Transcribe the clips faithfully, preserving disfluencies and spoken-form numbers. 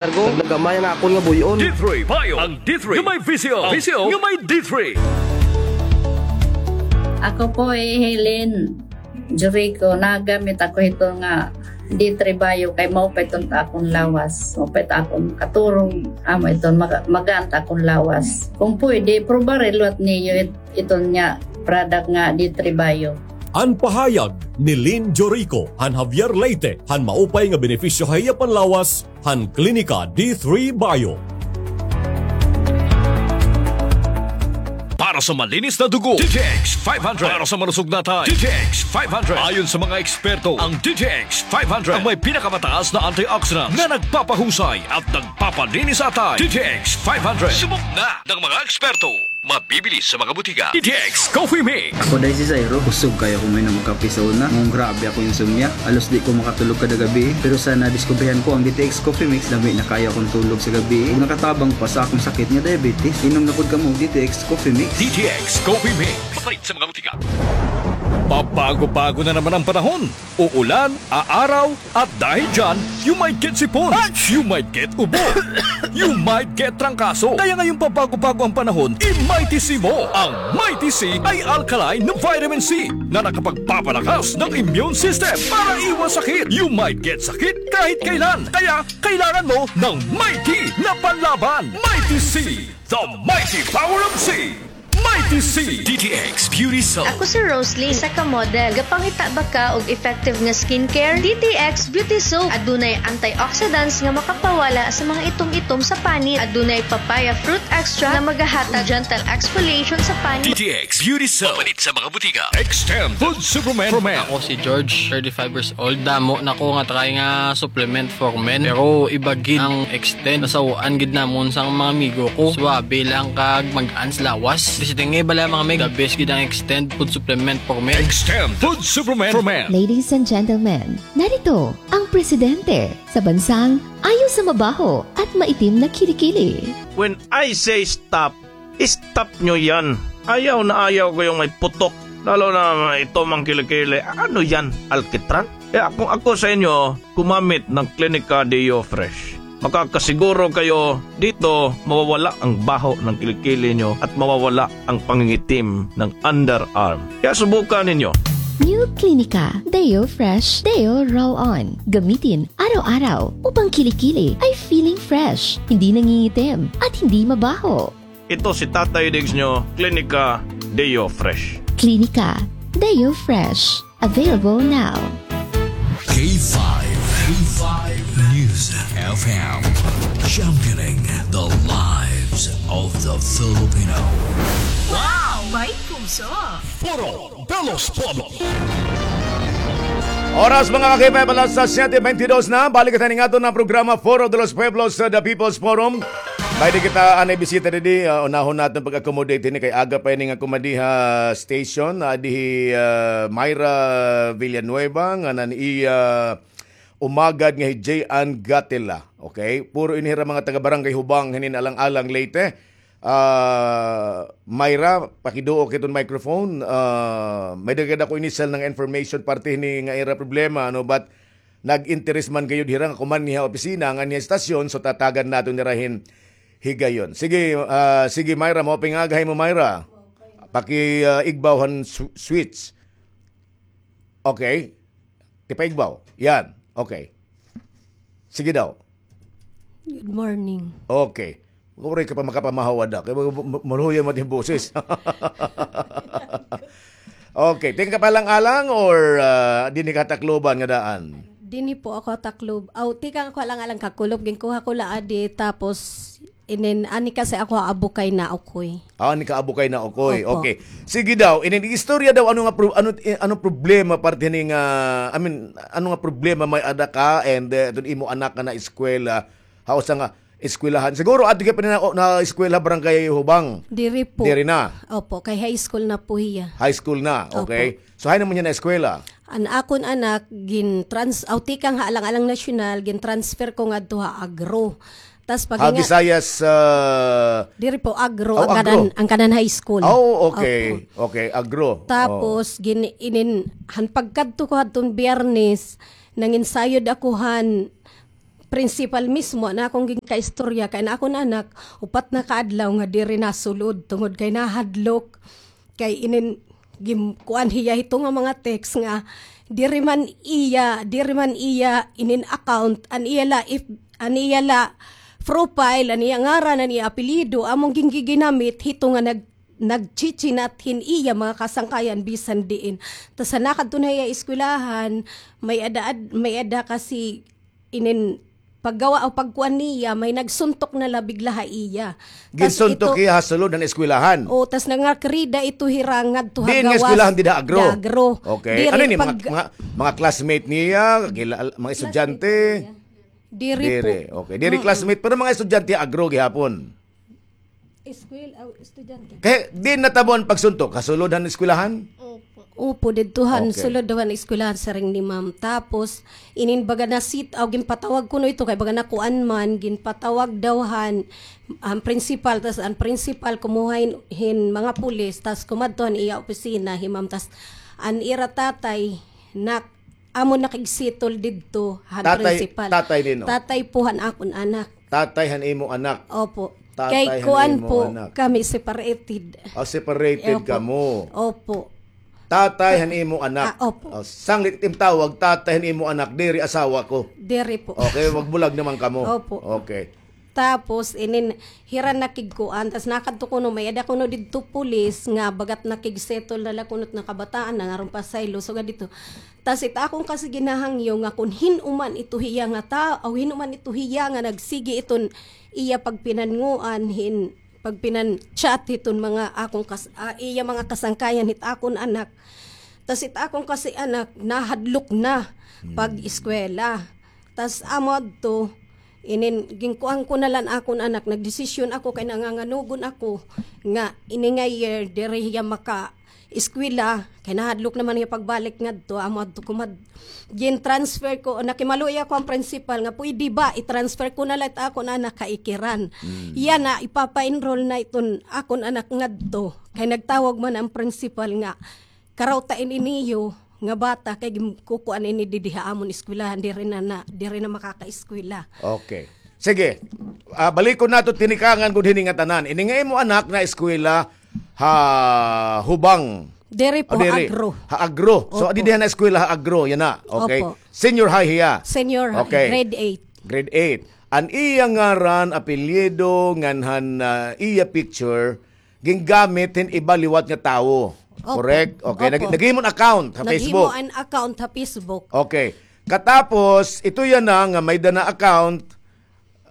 Kargo, naglagamay an akon nga buy-on. D three Bio, ang D three nga may V C O. V C O nga may D three. Ako po hi Helen Jurico, nagamit ako hito nga D three Bio kay maupay iton ta akon lawas. Maupay ta akon katurog, amo iton maga-, magaan ta akon lawas. Kung pwede, probare liwat niyo it-, iton nga product nga D three Bio. An pahayag ni Lynn Jorico han Javier, Leyte, han maupay nga benepisyo ha iya panlawas han Klinika D three Bio. Para sa malinis na dugo, D T X five hundred. Para sa malusog na atay, D T X five hundred. Ayon sa mga eksperto, ang D T X five hundred ang may pinakamataas na antioxidant na nagpapahusay at nagpapalinis sa atay. D T X five hundred. Subok na ng mga eksperto. Mabibili sa mga butika. D T X Coffee Mix. Ako day si Zairo, kusog kaayo ako moinom og kape sa una. Nganong grabe ako insomnia. Halos di ko makatulog kada gabii. Pero sa nadiskubrihan ko ang D T X Coffee Mix, lami na kaayo akon tulog sa gabii. Ug nakatabang pa sa akon sakit nga diabetes. Inom na pod kamo og D T X Coffee Mix. D T X Coffee Mix. Mapalit sa mga butika. Pabago-bago na naman ang panahon. Uulan, aaraw, at dahil dyan, you might get sipon, you might get ubo, you might get trangkaso. Kaya ngayong pabago-bago ang panahon, i-Mighty C mo. Ang Mighty C ay alkaline na vitamin C na nakapagpapalakas ng immune system para iwas sakit. You might get sakit kahit kailan. Kaya kailangan mo ng Mighty na panlaban. Mighty C, the mighty power of C. Mighty C. D T X Beauty Soap. Ako si Roslyn, isa ka model. Gapangita ba ka og effective nga skincare? D T X Beauty Soap. Adunay antioxidants nga makapawala sa mga itom-itom sa panit. Adunay papaya fruit extract nga magahatag gentle exfoliation sa panit. D T X Beauty Soap. Mapalit sa mga butika. Extend Food Supplement for Men. Ako si George, thirty-five years old. Damo na ko nga try nga supplement for men. Pero iba gid ang Extend. Nasaw-an gid namon sa mga amigo ko. Suabe lang kag magaan sa lawas. Basta nga bala, mga mig, the best gid ang Extend food supplement for men. Extend food supplement for men. Ladies and gentlemen, narito ang presidente sa bansang ayaw sa mabaho at maitim na kilikili. When I say stop, stop nyo yan. Ayaw na ayaw ko yung may putok. Lalo na ito, mga kilikili. Ano yan? Alkitran? Kaya kung ako sa inyo, gumamit ng Clinica Deo Fresh. Makakasiguro kayo dito mawawala ang baho ng kilikili nyo at mawawala ang pangingitim ng underarm. Kaya subukan ninyo. New Clinica Deo Fresh Deo Roll-On. Gamitin araw-araw upang kilikili ay feeling fresh, hindi nangingitim, at hindi mabaho. Ito si Tatay Diggs nyo, Klinika Deo Fresh. Klinika Deo Fresh. Available now. K five, K five News F M, championing the lives of the Filipino. Wow! May puso! Foro de los Pueblos. Oras, mga ka-K five, alas siyete beintidos na. Balik kita ning aton nga programa, Foro de los Pueblos, uh, The People's Forum. May di kita anay bisita didi, uh, unahon naton pag-accommodate hini kay aga pa ini nga kumadiha station. Adi hi, uh, Myra Villanueva, nga nan iya umagad nga hi J. Ann Gatila. Okay? Puro ini hira mga taga Barangay Hubang, hinin Alang-alang, Leyte. Ah, Myra, pakiduo kay iton microphone. Ah, may daghan ako inisal nga information parte hini nga ira problema, ano, but nag-interes man gayud hira nga kumanhi ha opisina ngan ha estasyon, so tatagan naton hira hin higayon. Sige, ah, sige, Myra, maupay nga aga ha imo, Myra. Paki, ah, igbaw han sw-, switch. Okay. Tipaigbaw. Yan. Okay. Sige daw. Good morning. Okay. Waray ka pa makapamahaw ada. Kay ma-, ma-, maluya man it im boses. Okay. Tikang ka pa Alang-alang or, ah, dinhi ka ha Tacloban nga daan? Dinhi po ako ha Taclob-, aw, tikang ako Alang-alang, Kakulop. Ginkuha ko la adi, tapos inin, ani kasi ako ha Abukay, Naokoy. Ah, ani ka Abukay, Naokoy. Opo. Okay. Sige daw, inin istorya daw, ano nga pro-, ano, eh, ano problema parte ni nga, I mean, ano nga problema may-ada ka and, eh, iton imo anak nga naeskwela, ha usa nga eskwelahan. Siguro adto ka pa na, na eskwela Barangay Hubang. Diri po. Diri na. Opo, kay high school na po hiya. High school na, okay. Opo. So, hain naman hiya naeskwela? An akon anak, gin-trans-, aw, tikang ha Alang-alang National, gin-transfer ko ngadto ha Agro. Tas pag Ha nga Visayas, ah, Diri po, Agro, Oh, ang Agro. kanan, ang kanan high school. Oh, okay. Opo. Okay, Agro. Oh. Tapos, gin-, inin, han pagkadto ko hadton Biyernes, nanginsayod ako han principal mismo an akon ginkaistorya kay an akon anak, upat na ka adlaw nga diri nasulod tungod kay nahadlok. Kay inin gin-, kuan hiya hito nga mga text nga diri man iya, diri man iya inin account, an iya la if, an iya la profile, an iya ngaran, an iya apelyido, amon gingiginamit hito nga nag-, nagchichinat hin iya mga kasangkayan bisan diin. Tas ha nakadto na hiya eskwelahan, may-ada, may-ada kasi inin paggawa o pagkuan niya, may nagsuntok na la bigla ha iya. Tas ginsuntok ito, iya ha sulod han eskwelahan. O, tas nangakrida ito hira ngadto ha gawas. Diin nga eskwelahan dida, Agro? Agro. Okay. Diri ano ini, mga, pag- mga, mga classmate niya, kila-, mga estudyante? Diri po. Diri. Okay. Diri classmate, pero mga estudyante, Agro gihapon. Eskwel-, aw, estudyante. Kay diin natabo an pagsuntok? Ha sulod han eskwelahan? Opo. Opo, didto han sulod han eskwelahan, siring ni ma'am. Tapos, inin baga na sit-, aw, ginpatawag kuno ito, kay baga nakuan man, ginpatawag daw han, an principal, tas an principal kumuha hin, hin mga pulis, tas kumadto han iya opisina, hi ma'am, tas an ira tatay, nak-, amo nakigsettle didto han principal. Tatay, tatay nino? Tatay po han akon anak. Tatay han imo anak. Opo. Tatay han imo anak. Kay kuan po kami separated. Ah, separated kamo. Opo. Tatay han imo anak. Ah, opo. Oh, sanglit it im tawag, tatay han imo anak, diri asawa ko. Diri po. Okay, magbulag naman kamo. Opo. Okay. Tapos, inin, hira nakigkuan, tas nakadto kuno, may-ada kuno didto pulis nga bagat nakigsettle na la kuno it nga kabataan, nangaron pa saylo, sugad didto. Tas it akon kasi ginahangyo nga kon hin-o man ito hiya nga ta-, aw hin-o man ito hiya nga nagsigi iton iya pagpinannguan hin, pagpinan-chat hiton mga akon kas-, ah, iya mga kasangkayan hit akon anak. Tas it akon kasi anak nahadlok na pag-eskwela. Tas amo adto, inin, ginkuan ko na la an akon anak, nagdesisyon ako kay nanganganugon ako nga ini nga year diri hiya maka-eskwela, kay nahadlok naman hiya pagbalik ngadto, amo adto kumad-, gin-transfer ko, nakimaluoy ako han principal nga pwede ba i-transfer ko na la it akon anak ha Ikiran. Yana, ipapa-enroll na iton akon anak ngadto. Kay nagtawag man an principal nga, Karaw ta ini niyo nga bata kay gin-, kukuan ini didi ha amon eskwelahan, diri na, na, diri na makakaeskwela. Okay. Sige. Ah, balikon nato tinikangan gud hini nga tanan. Ini nga imo anak naeskwela ha Hubang. Diri po, ha Agro. Ha Agro. So, didi na eskwela ha Agro, yana. Okay. Opo. Senior high hiya. Senior high, okay. Grade eight. Grade eight. An iya ngaran, apelyido, ngan han, ah, iya picture, gingamit hin iba liwat nga tawo. Opo. Correct? Okay. Opo. Nag-, naghimo hin account ha Facebook. Naghimo an account ha Facebook. Okay. Katapos, ito yana nga may-ada na account,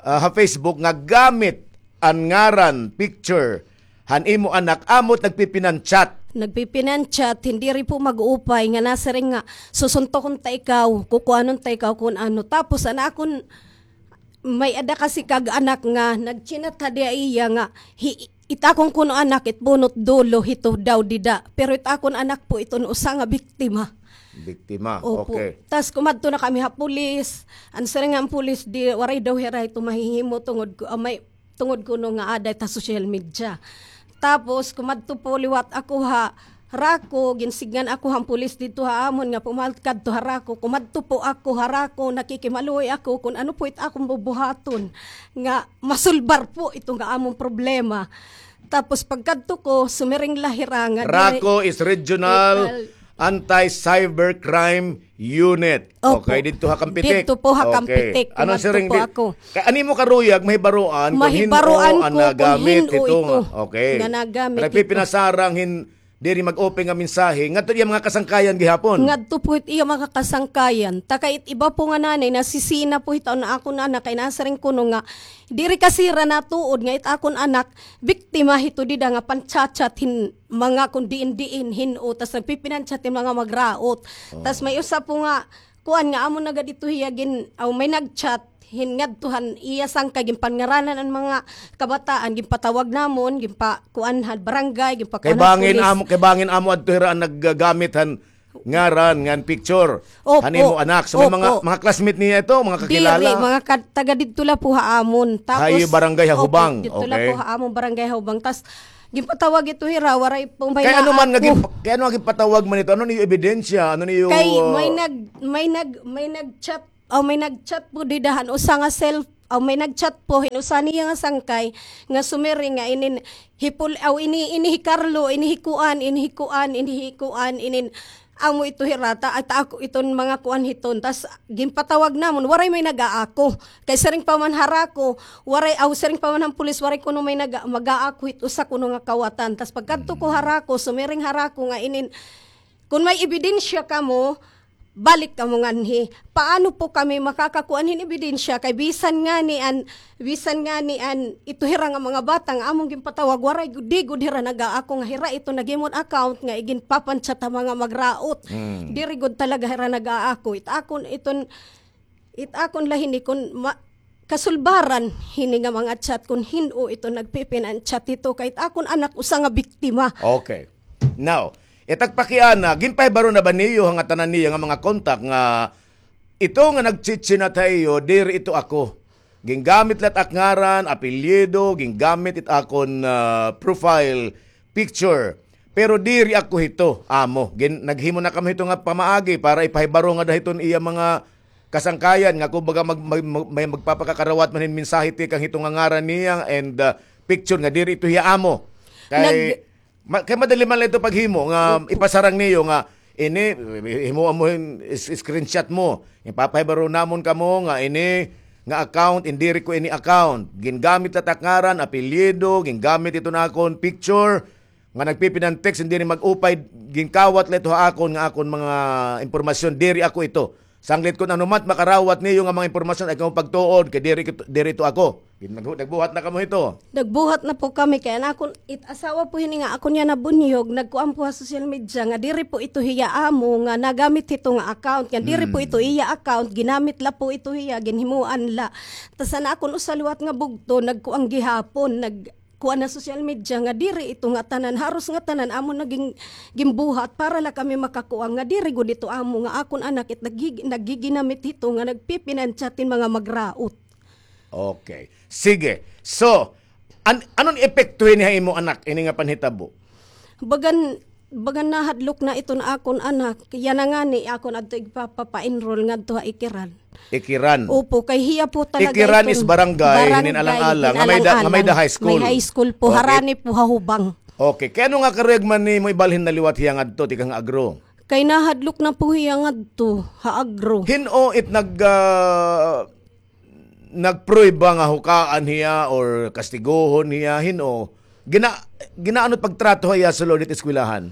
ah, ha Facebook nga gamit an ngaran, picture han imo anak, amo it nagpipinan-chat. Nagpipinan-chat, hin diri po mag-upay nga nasiring nga, susuntokon ta ikaw, kukuanon ta ikaw kun ano. Tapos, an akon may-ada kasi kag-anak nga nagchinat ha diha iya nga, hi-, it akon kuno anak, it bunot dulo, hito daw dida. Pero it akon anak po, iton usa nga biktima. Biktima, opo. Okay. Tas kumadto na kami ha pulis. An siring han pulis, di, waray daw hira hito mahihimo tungod ku-, ah, may, tungod kuno nga aada it ha social media. Tapos, kumadto po liwat ako ha Raco, ginsidngan ako han pulis didto ha amon nga pumalkadto ha Raco. Kumadto po ako ha Raco, nakikimaluoy ako kun ano po it akon bubuhaton nga masulbar po ito nga amon problema. Tapos pagkadto ko, sumiring la hira nga diri. Raco is Regional Anti-Cybercrime Unit. Opo. Okay, didto ha Campetic. Didto po ha Campetic. Okay. Ano siring di-, kay an imo karuyag, mahibaroan kun hin-o an nagamit hito. Okay. Nga nagamit hito. Nagpipinasarang hin diri mag-open nga mensahe ngadto iya mga kasangkayan gihapon. Ngadto po it iya mga kasangkayan. Ta kay it iba po nga nanay, nasisina po hito an akon anak kay nasiring kuno nga diri kasi hira natuod nga it akon anak biktima hito dida nga pan-chat-chat hin mga kun diin-diin hin-o, tas nagpipinan-chat hin mga magraot. Tas may usa po nga kuan nga amo na gad ito hiya gin-, aw, may nag-chat hin ngadto han iya sangkay, ginpanngaranan an mga kabataan, ginpatawag namon, ginpa-, kuan han barangay, ginpakuan han pulis. Kay bangin amo, kay bangin amo adto hira an naggamit han ngaran ngan picture han imo anak. So, may mga, mga classmate niya ito, mga kakilala? Diri, mga ka-, taga didto la po ha amon. Tapos, ha iyo barangay ha Hubang. Didto la po ha amon barangay ha Hubang. Tas, ginpatawag ito hira, waray po may naako. Kay ano man nga gin-, kay ano nga ginpatawag man ito? Ano niyo ebidensya? Ano niyo, kay may nag-, may nag-, may nag-chat aw may nag-chat po dida han usa nga self, aw may nag-chat po hin usa niya nga sangkay nga sumiring nga inin hipul, aw ini, ini hi Carlo, ini hi kuan, ini hi kuan, ini hi kuan, inin amo ito hirata, at ako iton mga kuan hiton. Tas ginpatawag namon, waray may nag-aako. Kay siring pa man harako, waray, aw siring pa man han pulis, waray kuno may nag-, mag-aako hit usa kuno nga kawatan. Tas pagkadto ko harako, sumiring harako nga inin, kun may ebidensya kamo, balik kamo nganhi. Paano po kami makakakuan hin ebidensya? Kay bisan ngani an, bisan ngani an ito hira nga mga bata nga amon ginpatawag, waray gud, di gud hira nag-aako nga hira ito naghimo hin account nga iginpapan-chat ha mga magraot. Mm. Diri gud talaga hira nag-aako. It akon iton, it akon la hini kun ma-, kasulbaran hini nga mga chat kun hin-o ito nagpipinan-chat hito, kay it akon anak usa nga biktima. Okay. Now, it ak pakiana, ginpahibaro na ba niyo ha ngatanan niya nga mga kontak nga ito nga nagchi-chinat ha iyo, diri ito ako. Gingamit la it ak ngaran, apelyido, gingamit it akon, ah, profile picture. Pero diri ako hito, amo. Gin-, naghimo na kami hito nga pamaagi para ipahibaro ngada hiton iya mga kasangkayan nga kumbaga mag-, mag-, mag-, may magpapakakarawat man hin mensahe tikang hito nga ngaran niya and, ah, picture nga diri ito hiya amo. Kay, Nag- ma-, kay madali man la ito paghimo nga ipasarang niyo nga ini, himo mo hin is-, screenshot mo. Ipapahibaro namon kamo nga ini nga account, diri ko ini account. Gingamit la it ak ngaran, apelyido, gingamit ito na akon picture. Nga nagpipinan-text, hindi rin mag-upay, ginkawat la ito ha akon nga akon mga impormasyon, diri ako ito. Sanglit kun ano man it makarawat niyo nga mga impormasyon, ay kamo pagtuod, kay diri, diri ito ako. Naghu-, nagbuhat na kamo hito. Nagbuhat na po kami, kay an akon, it asawa po hini nga akon niya nabunyog, nagkuan po ha social media nga diri po ito hiya amo nga nagamit hito nga account, nga diri po ito iya account, ginamit la po ito hiya, ginhimuan la. Tas an akon usa liwat nga bugto, nagkuan gihapon, nag-, kuan ha social media nga diri ito nga tanan, haros nga tanan amo na gin-, ginbuhat para la kami makakuan nga diri gud ito amo nga akon anak it naggi-, naggiginamit hito nga nagpipinan-chat hin mga magraot. Okay. Sige. So, an-, anon epekto hini ha imo anak, ini nga panhitabo? Bagan, bagan nahadlok na iton akon anak. Yana ngani akon adto igpapa-enroll ngadto ha Ikiran. Ikiran. Opo, kay hiya po talaga Ikiran iton is barangay, barangay, hinin Alang-alang, nga may da-, nga may da high school. May high school po, okay. Harani po ha Hubang. Okay. Kay ano nga karuyag man nimo ibalhin na liwat hiya ngadto, tikang Agro? Kay nahadlok na po hiya ngadto ha Agro. Hin-o it nag-, ah, nagprueba nga hukaan hiya or kastigohon hiya, hin-o? Gina-, ginaano it pagtrato ha iya sulod hit eskwelahan?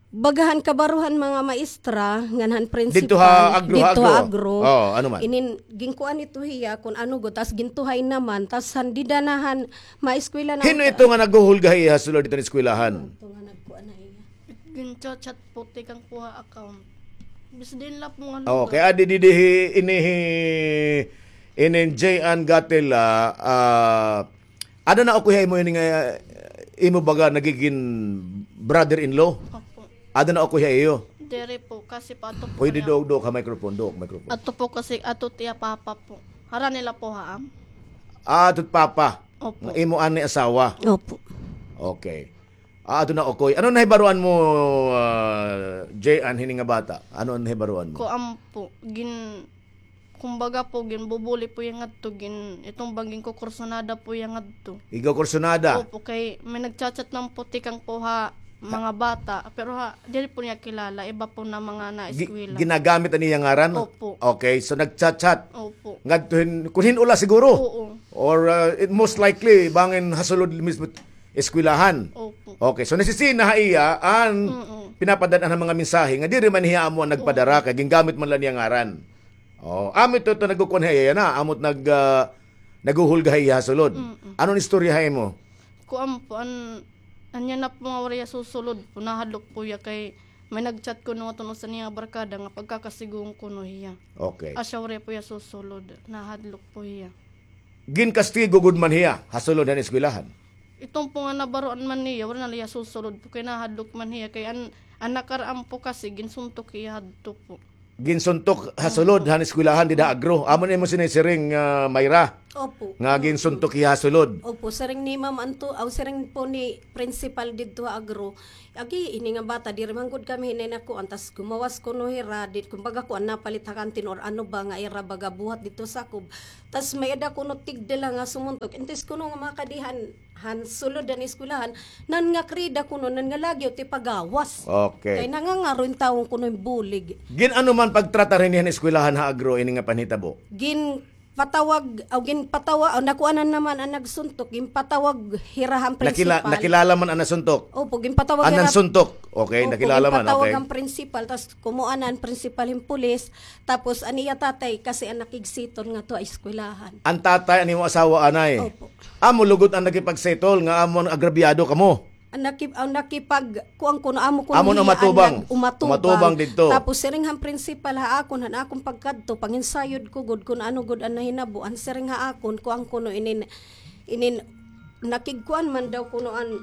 Baga han kabaruhan mga maestra, ngan han principal, didto ha Agro, ha didto ha Agro. Agro. Oo, ano man? Inin, ginkuan ito hiya, kun ano gud, tas gintuhay naman, tas han dida na han maeskwela na. Hin-o ito nga naghuhulga ha iya sulod didto han eskwelahan? Ito nga nagkuan na iya. Gin-chat-chat po, tikang kuha account. Bis din la po nga lugar. Okay, adi didi hi, ini hi, inin J Ann Gatela, ah, ada na ako ha imo ini nga, imo baga nagigin brother-in-law? Opo. Ada na ako ha iyo? Diri po, kasi pa ato po. Pwede niya. Duok, duok ha microphone, duok microphone. Ato po kasi, ato tiya papa po. Harani la po ha am. Ah, ato papa. Opo. Nga imo ani asawa? Opo. Okay. Ah, ato na, okay. Ano nahibaruan mo, ah, J Ann, hini nga bata? Ano an nahibaruan mo? Kuan po, gin-, kumbaga po, ginbubuli po iya ngadto, gin-, iton bang ginkukursunada po iya ngadto. Ginkukursunada? Opo, kay may nagchat-chat naman po tikang po ha mga bata, pero ha, diri po niya kilala, iba po na mga na eskwela. Gi-, ginagamit an iya ngaran? Opo. Okay, so nagchat-chat? Opo. Ngadto hin-, kun hin-o la siguro? Oo. Or, uh, it most likely, bangin hasulod mismo eskwelahan. Opo. Okay, so nasisina ha iya an pinapadad-an han mga mensahe nga diri man hiya amo an nagpadara, kay gingamit man la niya ngaran. Oh, amo ito, ito nagkukuan ha iya na, amo it nag, ah, naghuhulga ha iya ha sulod. Mm-mm. Ano an istorya ha imo? Kuan po, an, anya na po nga waray hiya susulod po, nahadlok po hiya kay may nag-chat kuno nga tun-o sa niya nga barkada nga pagkakasigohon kuno hiya. Okay. Asya waray po hiya susulod, nahadlok po hiya. Ginkastigo gud man hiya ha sulod han eskwelahan? Iton po nga nabaruan man niya, waray na la hiya susulod po kay nahadlok man hiya kay an, an nakaraan po kasi ginsuntok hiya hadto po. Ginsuntok ha sulod han eskwelahan dida Agro. Amo na imo sinisiring, ah, Myra? Opo. Nga ginsuntok hiya ha sulod. Opo, siring ni Ma'am Anto, aw, siring po ni principal didto ha Agro. Agi, ini nga bata, diri man gud kami hinay nakuan, tas gumawas kuno hira, di, kumbaga kuan, napalit ha kantin or ano ba nga ira baga buhat didto sakob. Tas may-ada kuno tigda la nga sumuntok. Intis kuno nga makadihan, han sulod han eskwelahan, nan nga krida kuno, nan nga lagyo ti pagawas. Okay. Kay nangangaro in tawon kuno in bulig. Gin-ano man pagtratar hini han eskwelahan ha Agro ini nga panhitabo? Ginpatawag, aw, ginpatawa-, aw, nakuanan naman an nagsuntok, ginpatawag hira han principal. Nakilala man an nasuntok? Opo, ginpatawag hira. An nagsuntok? Okay, nakilala man, okay. Opo, ginpatawag han principal, tas kumuan an principal hin pulis, tapos an iya tatay kasi an nakigsettle ngadto ha eskwelahan. An tatay, an imo asawa, anay? Opo. Amo lugod an nakipagsettle nga amo an agrabyado kamo? An naki-, an nakipag-, kuan kuno, amo kuno hiya an nag-umatubang. Umatubang didto. Tapos siring han principal ha akon, han akon pagkadto, panginsayod ko gud kun ano gud an nahinabo. An siring ha akon, kuan kuno inin, inin, nakigkuan man daw kuno an,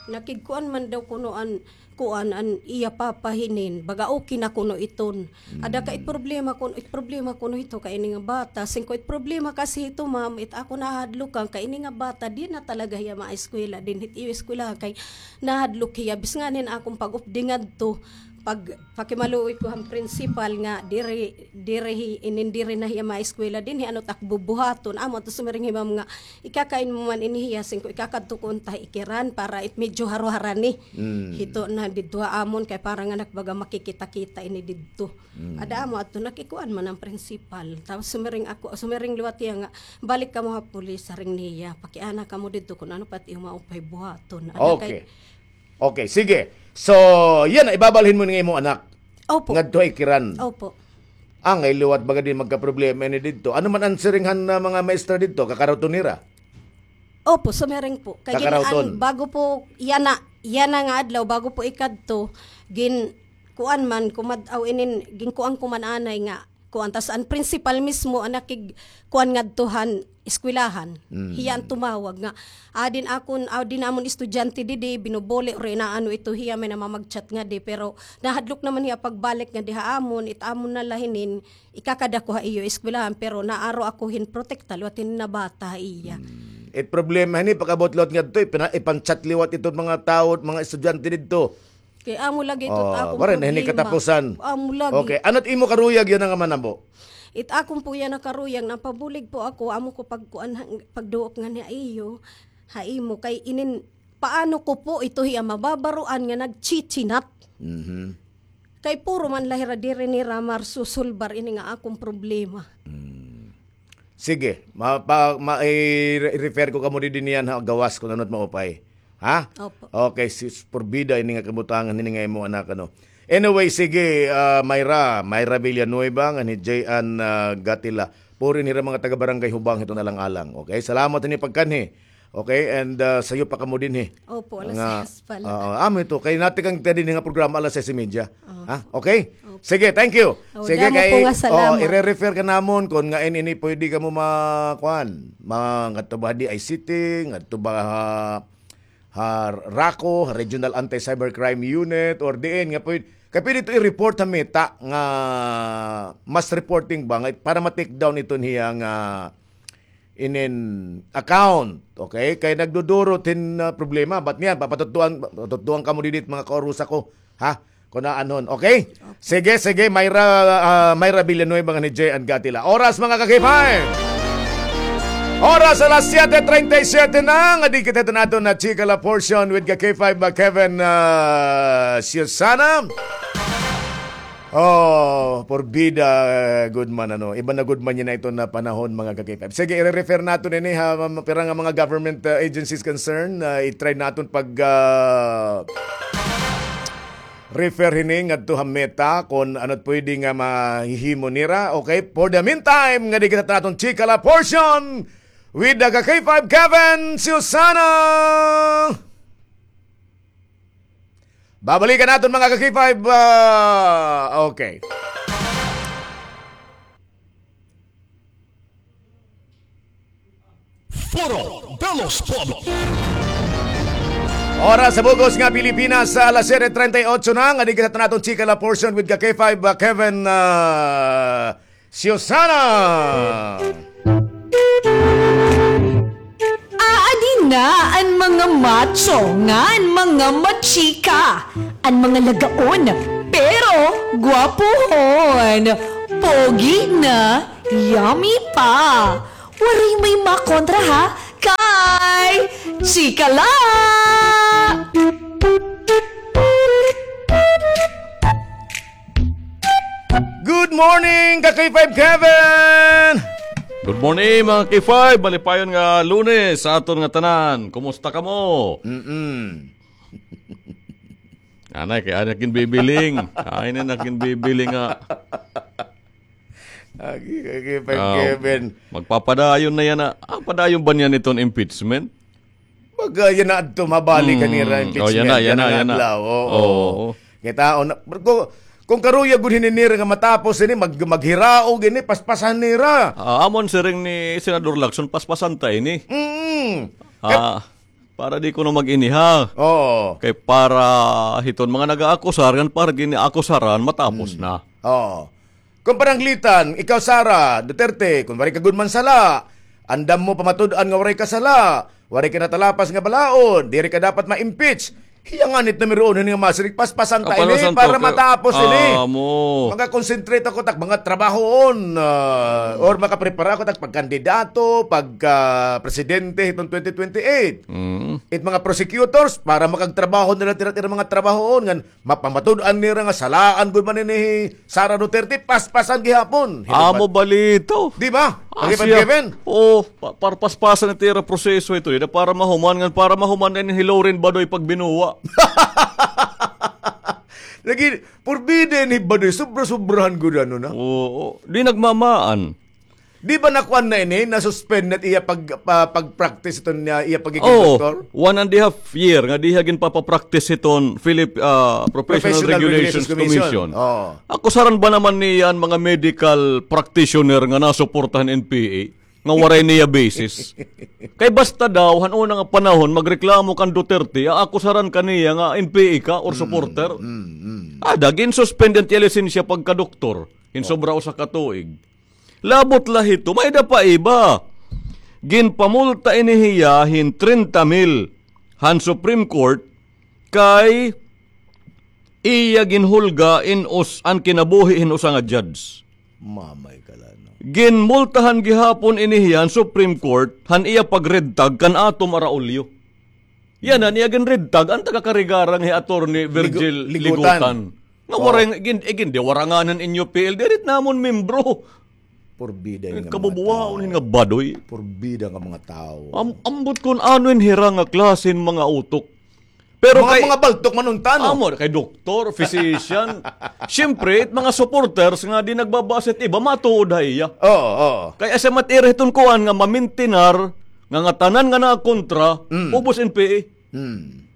nakigkuan man daw kuno an, kuan, an iya papa hinin. Baga okay na kuno iton. Ada ka it problema kuno, it problema kuno hito kay ini nga bata. Singko it problema kasi hito, ma'am, it ako nahadlukan kay ini nga bata, di na talaga hiya maeskwela dinhi it iyo eskwelahan kay nahadlok hiya. Bis nganin akon pag-updi ngadto, pag-, pakimaluoy ko han principal nga diri, diri hi-, inin diri na hiya maeskwela dinhi, ano it ak bubuhaton. Amo adto sumiring hi ma'am nga, ikakain mo man ini hiya, singko ikakadto ko unta ha Ikiran para it medyo haro-harani. Hito na didto ha amon kay para nga nakbaga makikita-kita ini didto. Ada amo adto, nakikuan man an principal. Tapos sumiring ako, sumiring liwat hiya nga, "Balik kamo ha pulis," siring niya. "Pakiana kamo didto kun ano pa it iyo maupay buhaton." Ada kay... Okay. Okay, sige. So, yana, ibabalhin mo nga imo anak. Opo. Ngadto ha Ikiran. Opo. Angay liwat baga di magkaproblema ini didto. Ano man an siring han, ah, mga maestra didto, kakaruton nira? Opo, sumiring po. Kay gin-, an, bago po, yana, yana nga adlaw, bago po ikadto, gin-, kuan man, kumad-, aw, inin, ginkuan ko man anay nga, kuan, tas an principal mismo, an nakig-, kuan ngadto han eskwelahan. Hiya an tumawag nga, "Adi an akon, adi an amon estudyante didi, binubuli, or inaano ito hiya, may namamag-chat ngadi, pero nahadlok naman hiya pagbalik ngadi ha amon, it amon na la hinin, ikakada ko ha iyo eskwelahan, pero naaro ako hin protekta liwat hini nga bata ha iya." It problema hini, pag-abot liwat ngadto, ipina-, ipan-chat liwat ito mga tawo, mga estudyante didto. Kay amo lagi ito it akon problema. Waray na hini katapusan. Amo lagi. Okay, ano it imo karuyag yana nga manabo? It akon po yana karuyag, napabulig po ako, amo ko pagkuan, pagduop ngan ha iyo, ha imo, kay inin, paano ko po ito hiya mababaroan nga nagchichinat? Kay puro man la hira diri nira marsusulbar ini nga akon problema. Sige, ma-, pa-, ma-, i-, i-refer ko kamo didi niyan ha gawas kun ano it maupay. Ha? Opo. Okay, sis, porbida ini nga kabutangan hini nga imo anak, ano. Anyway, sige, ah, Myra, Myra Villanueva, ngan hi J N, ah, Gatila. Puri hira mga taga Barangay Hubang hiton alang-alang. Okay, salamat hini pagkanhi. Okay, and, ah, sayo pa kamo dinhi. Opo, alas sais pa la. Oo, amo ito. Kay natikang kita dinhi nga programa alas sais y media. Ha? Okay? Opo. Sige, thank you. Sige, damo kay, po nga salamat. Oo, ire-refer ka namon kun ngan ini pwede kamo ma-, kuan, ma-, ngadto ba ha D I C T, ngadto ba ha, ha RACU, ha Regional Anti-Cybercrime Unit, or diin nga pwede, kay pwede ito i-report ha meta nga mass reporting ba, nga para ma-take down iton hiya nga inin account, okay? Kay nagdudurot hin, ah, problema. Bat niyan, papatutdoan, papatutdoan kamo didi it mga kaurusa ko, ha? Kun aanhon, okay? Sige, sige, Myra, ah, Myra Villanueva ngan hi J N Gatila. Oras, mga ka-K five. Oras, alas siyete treinta y siete na, nga di kita naton na Chika La Portion with ka-K five, ah, Kevin, ah, Susana. Oh, porbida, eh, gud man, ano. Iba na gud man yana iton nga panahon, mga ka-K five. Sige, i-refer naton ini ha, ma-, pira nga mga government, uh, agencies concern, uh, i-try naton pag, uh, refer hini ngadto ha meta kun ano it pwede nga mahihimo nira. Okay, for the meantime, nga di kita naton Chika La Portion with the ka-K five Kevin Susana. Babalikan naton, mga ka-K five, ah, okay. Foro de los Pueblos. Oras sa bug-os nga Pilipinas, ah, alas siyete treinta y ocho na, nga di kita naton Chika La Portion with ka-K five, ah, Kevin, ah, Susana. Macho ngan mga machika, an mga lagaon, pero gwapuhon, pogi na, yummy pa. Waray may makontra ha, kay chika la! Good morning, ka K five Kevin! Good morning, mga K five. Malipayon nga Lunes sa aton nga tanan. Kumusta kamo? Mm-mm. Anay, kay anay kin bibiling. Ay na nakin bibiling nga. Agi, agi, Pep Ah, Kevin. Magpapadayon na yana. Ah, padayon ba niyan iton impeachment? Pag, ah, yana adto, mabalik ka nira Mm. Oh, impeachment. yana, yana, Yana nga yana. adlaw, oo. Oo. Kita, o, na, kung, kung karuya gud hini nira nga matapos ini, mag-, maghiraog ini, paspasan nira. Ah, amon siring ni Senador Lacson, paspasan ta ini. Mm. Ah, para di kuno mag-iniha. Oo. Kay para hiton mga nag-aakusar, ngan para gini-akusaran, matapos Mm. na. Oo. Kung pananglitan, ikaw, Sara Duterte, kung waray ka gud man sala, andam mo pamatud-an nga waray ka sala, waray ka natalapas nga balaod, diri ka dapat ma-impeach. Hiya ngani it numero uno nga masiring, paspasan ta ini para matapos ini. Amo. Maka-concentrate ako tak mga trabahoon, ah, or makaprepara ako tak pagkandidato, pagka-presidente hiton twenty twenty-eight. Mm. It mga prosecutors, para makagtrabaho nila tira-tira mga trabahoon, ngan mapamatud-an nira nga salaan gud man ini hi Sara Duterte, paspasan gihapon. Amo balito. Di ba? Lagi pa, Kevin? Oo, pa-, para paspasan it ira proseso ito, ida para mahuman, ngan para mahuman na ini hi Loren Badoy pagbinuwa. Lagi, purbida ini hi Badoy, sobra-sobrahan gud ano na. Oo, di nagmamaan. Di ba nakuan na ini, na-suspend na iya pag-, pa-, pag-practice ito niya, iya pagiging Oo, doktor? One and a half year nga diha ginpapapractice hiton Philip-, ah, Professional Professional Regulations Regulations Commission. Commission. Oo. Akusaran ba naman niya an mga medical practitioner nga nasuportahan N P A nga waray niya basis? Kay basta daw, han una nga panahon, magreklamo kan Duterte, aakusaran ka niya nga N P A ka or Mm, supporter. Mm, mm. Ada, gin-suspend an iya lisensya pagkadoktor. Hin Oh. sobra usa ka tuig. Labot la hito, may-ada pa iba. Ginpamulta ini hiya hin trenta mil han Supreme Court kay iya ginhulga in us-, an kinabuhi hin usa nga judge. Mamay ka la, no? Ginmultahan gihapon ini hiya han Supreme Court han iya pag-red tag kan Atom Araulio. Yana, niya ginred tag an taga-Carigara nga hi Attorney Ligu-, Virgil Ligutan. Ligutan. Nga Oo. waray, igin-, igin-, di waranganan inyo P L D, diri it namon membro. Purbida nga mga Kabubuwaon tao. nga badoy. Purbida nga mga tao. Am-, ambot kun ano in hira nga klase hin mga utok. Pero Mga, kay mga baltok man unta, no? Amo, kay doktor, physician. Siyempre, it mga supporters nga di nagbabase it iba, matuod ha iya. Oo, oo. Kay asa mat-ira hiton kuan nga mamintinar, nga ngatanan nga nakontra, Mm. ubos N P A. Mm.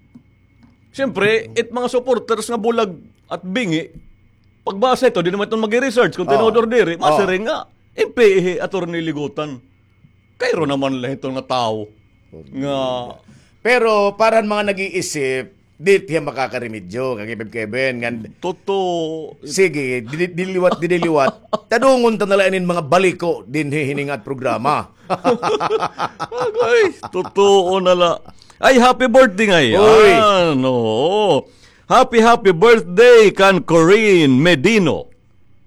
Siyempre, it mga supporters nga bulag at bingi, pagbasa ito, di naman iton mag-research kung Oo. tinuod or diri, Oo. masiring nga, N P A hi Attorney Ligutan. Kairo naman la ito nga tawo. Nga Pero para han mga nag-iisip, di hiya makakaremedyo, Kakipib Kevin, ngan Totoo. Sige, di-, di-, diliwat, di-, diliwat. Tadungon ta na la inin mga baliko dinhi hini nga programa. Agay, totoo na la. Ay, happy birthday ngay-an. Uy. Ano? Happy, happy birthday kan Corinne Medino.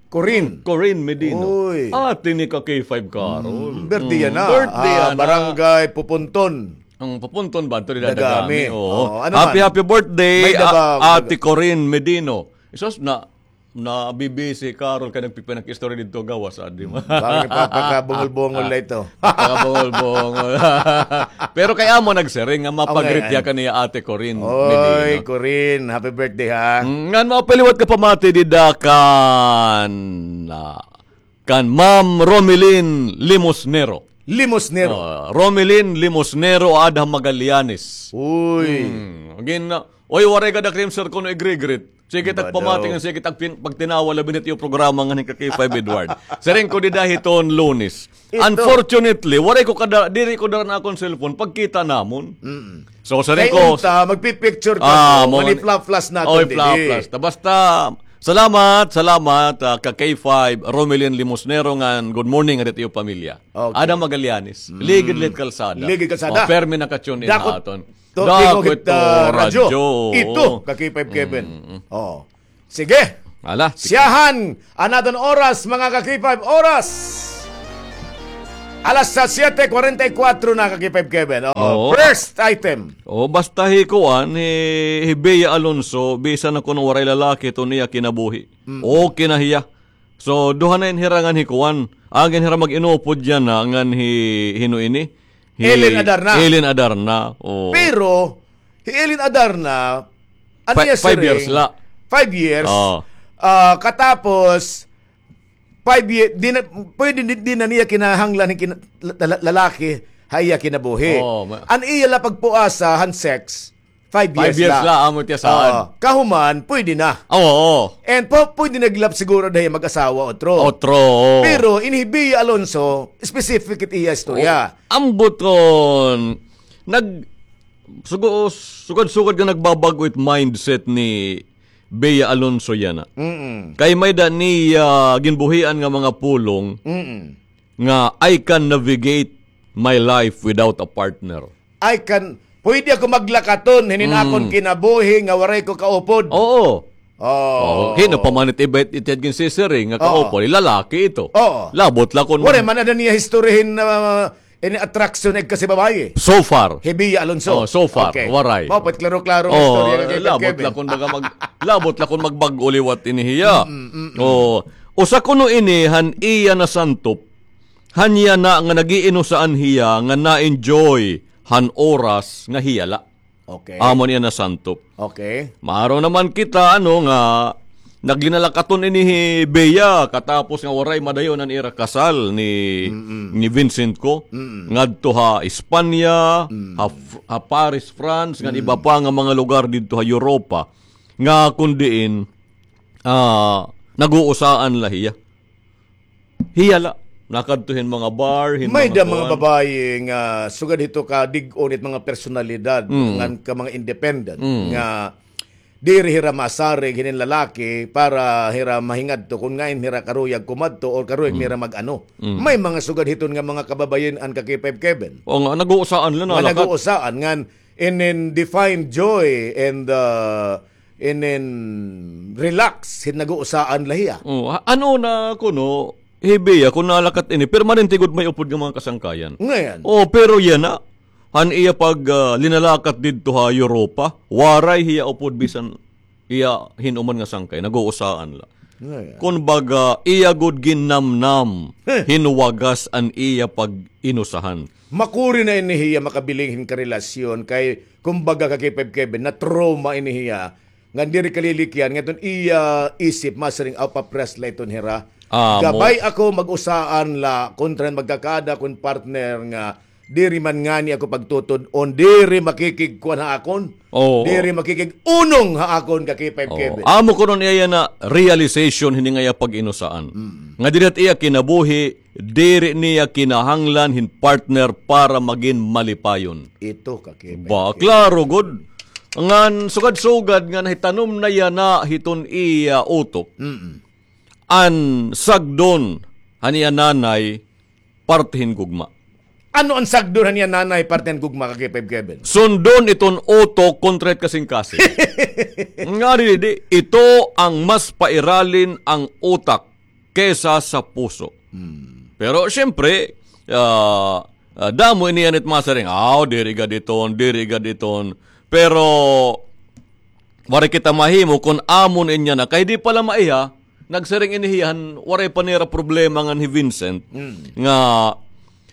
Corinne. Corinne Medino. Uy. Ate ni ka K five Carol. Mm, birthday yana. Birthday Ah, yana. Barangay Pupunton. Ang Pupunton ba? Ito nila Dagami. Dagami. Oo. Oo, ano Happy, man? happy birthday, May a-, daba-, Ate Corinne Medino. Isos na, na B B C Carol ka nagpipinag-istorya dito gawas, adi mo. Bakit papakabungol-bungol na ito? Pagkabungol-bungol. Pero kay amo nagsiring nga mapagritya Okay, kaniya Ate Corinne Oy, Medina. Corinne, happy birthday, ha? Mm, ngan mapaliwat ka pamati dida kan, ah, kan Ma'am Romelin Limosnero. Limosnero. Ah, Romelin Limosnero, ada Magallanes. Uy. Mm, gin-, oy, waray ka da cream, sir, kuno igregret. Sige, Bado. tagpamati nga, sige, tagpin-, pagtinawa, labi na tiyo programa nga ni ka K five Edward. Siring ko dida hiton Lunes. Ito. Unfortunately, waray ko kada, diri ko dara na akon cellphone, pagkita namon. Mm-mm. So, siring Kay ko, unta, magpipicture ka Ah, mo, mo, mani fla-flash natin oy, didi. fla-flash. Ta basta, Salamat, salamat, ah, ka K five, Romelin Limosnero ngan good morning, arit iyo pamilya. Okay. Adam Magallanes, Ligid Lit Kalsada. Ligid Kalsada. Oh, permi naka-tune in ha aton. Dakot to, Dakot ito, ah, radyo. Radyo. Ito, ka K five Kevin. Mm. Oh. Sige. Ala, sige. Siyahan, an aton oras, mga ka K five, oras. Alas sa siyete kuwarenta y kuwatro na, ka K five Kevin. Oo. Oo. First item. O, basta hi kuan, hi, hi Bea Alonso, bisan na kuno waray lalaki, iton iya kinabuhi. Mm. Okay na hiya. So, duha na in hira ngan hi kuan. Agi in hira mag-inupod yana ngan hi, hino ini? Hi Ellen Adarna. Ellen Adarna, oo. Pero, hi Ellen Adarna, an iya siring, five years la. Five years. Oo. Ah, katapos, five year, di na, pwede di, di na niya kinahanglan hin kina-, la-, la-, lalaki, ha iya kinabuhi. Oo, ma- An iya la pagpuasa han sex, five years la. Five years la, amo tiya saan. Oo. Kahuman, pwede na. Oo, oo. And po, pwede na gihap siguro dayon mag-asawa, otro. Otro, oo. Pero, ini hi Bea Alonso, specific it iya istorya. Oo. Ambot kon, nag-, sugo-, sugad-sugad nga nagbabag-o it mindset ni Bea Alonso yana. Mm-mm. Kay may-ada niya ginbuhian nga mga pulong Mm-mm. nga, "I can navigate my life without a partner." I can, pwede ako maglakaton hinin Mm. akon kinabuhi nga waray ko kaupod. Oo. Oh. Oo, hino pa man it iba it, it ginsisiring nga Oo. kaupod, lalaki ito. Oo. Labot la kon Waray man ada niya history hin, ah, ini attraction ig kasi babayi. So far. Hi Bea Alonso. Oh, so far, Okay. waray. Mao pa it klaro-klaro nga Oh, istorya nga kay labot Kevin. la kon baga mag-, labot la kon magbag-o liwat ini hiya. Mm, mm, mm. Oh, usa kuno ini han iya nasantop. Han yana nga nag-iinusaan hiya nga na-enjoy han oras nga hiya la. Okay. Amo niya nasantop. Okay. Maaro naman kita, ano, nga naglinalakaton ini hi Bea, katapos nga waray madayon an ira kasal ni, Mm-mm. ni Vincent ko, Mm-mm. ngadto ha Espanya, Mm. ha F-, ha Paris, France, ngan Mm. iba pa nga mga lugar didto ha Europa, nga kun diin, ah, nag-uusaan la hiya. Hiya la, nakadto hin mga bar, hin May mga da mga kuan. babayi nga sugad hito ka dig-on it mga personalidad Mm. ngan ka mga independent Mm. nga diri hira masarig hinin lalaki para hira mahingadto kun ngain hira karuyag kumadto or karuyag Mm. nira mag-ano. Mm. May mga sugad hiton nga mga kababayin-an ka K five Kevin. O nga, nag-uusaan la Nga na, lakat. nag-uusaan ngan inin define joy and, uh, inin relax hin nag-uusaan la hiya. Oh, ha-, ano na kuno, hi Bea, kun nalakat ini, permanente gud may upod nga mga kasangkayan. Ngayon. Oh, pero yana, han iya pag, ah, linalakat didto ha Europa, waray hiya upod bisan iya hin-o man nga sangkay, nag-uusaan la. Ngayon. Kun baga, iya gud ginnamnam, Heh. hin wagas an iya pag-inusahan. Makuri na ini hiya makabiling hin karelasyon kay, kumbaga, ka K five Kevin, na-trauma ini hiya. Ngan diri kalilikyan, nga iton iya isip, masiring, "Aw, papres la iton hira. Amo. Gabay ako, mag-usaan la, kontra magkakaada kon partner nga diri man ngani ako pagtutod-on, diri makikigkuan ha akon, Oo. diri makikig-unong ha akon ka K five Oo. Kevin." Amo kuno niya yana realization hini nga iya pag-inusaan. Mm. Nga diri it iya kinabuhi, diri niya kinahanglan hin partner para magin malipayon. Ito ka K five Ba, Kevin. klaro gud. Ngan sugad-sugad nga nahitanom na yana hiton iya utok. Mm-mm. An sagdon han iya nanay, parte hin gugma. Ano an sagdon han iya nanay, parte hin gugma, ka K five Kevin? Sundon iton utok kontra it kasingkasing. Nga didi, ito ang mas pairalin ang utak kesa sa puso. Hmm. Pero siyempre, ah, ah, damo ini an it masiring, "Aw, diri gad iton, diri gad iton." Pero, waray kita mahimo kon amon inya na. Kay di pa la maiha, nagsiring ini hiya han waray pa nira problema ngan hi Vincent, Mm. nga